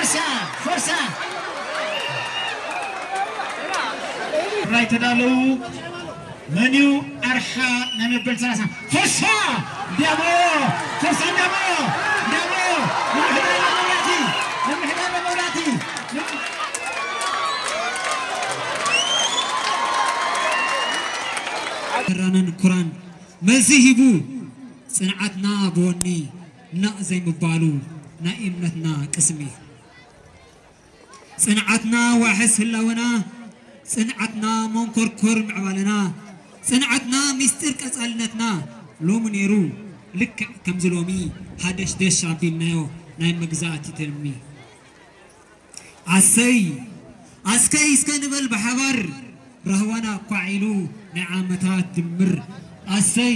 ፎርሳ፣ ፎርሳ። ራይ ተዳለዉ። መን እዩ ኣርሓ ናይ መበል ሰላሳ? ፎርሳ! እንዲያሞ! ፎርሳ እንዲያሞ! እንዲያሞ! ምምሕዳር መብራህቲ! ምምሕዳር መብራህቲ! ተራነን ኩራን መልሲ ሂቡ፣ ጽንዓትና ብወኒ፣ ናቕ ዘይምባሉ ናይ እምነትና ቅስሚ። ጽንዓትና ዋሕስ ህላወና፣ ጽንዓትና መንኮርኮር ምዕባለና፣ ጽንዓትና ሚስጢር ቀጻልነትና፣ ሎሚ ነይሩ ልክዕ ከምዚ ሎሚ፣ ሃደሽደሽ ኣቢልናዮ ናይ መግዛእቲ ትልሚ። ኣሰይ ኣስከይ እስከ ንበል ብሓባር፣ ራህዋና ኳዒሉ ናይ ዓመታት ድምር። ኣሰይ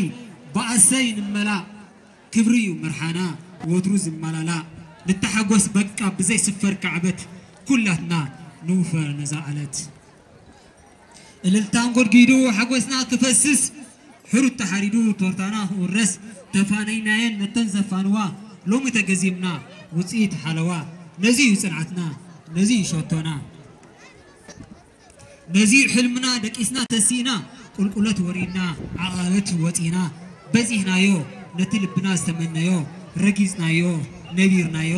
ብኣሰይ ንመላእ፣ ክብሪ እዩ መርሓና ወትሩ ዝመላላእ። ንተሓጎስ በቃ ብዘይስፈር ካዕበት፣ ኩላትና ንውፈር ነዛ ዕለት። እልልታ ኣንጎድጊዱ ሓጎስና ክፈስስ፣ ሕሩት ተሓሪዱ ቶርታና ክውረስ፣ ተፋነይናየን ነተን ዘፋንዋ፣ ሎሚ ተገዚምና ውፅኢት ሓለዋ። ነዚ እዩ ጽንዓትና፣ ነዚ እዩ ሸቶና። ነዚ ሕልምና ደቂስና ተሲእና፣ ቁልቁለት ወሪድና፣ ዓቐበት ወጺና፣ በጺሕናዮ፣ ነቲ ልብና ዝተመነዮ፣ ረጊጽናዮ፣ ነቢርናዮ፣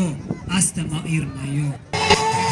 ኣስተማቒርናዮ።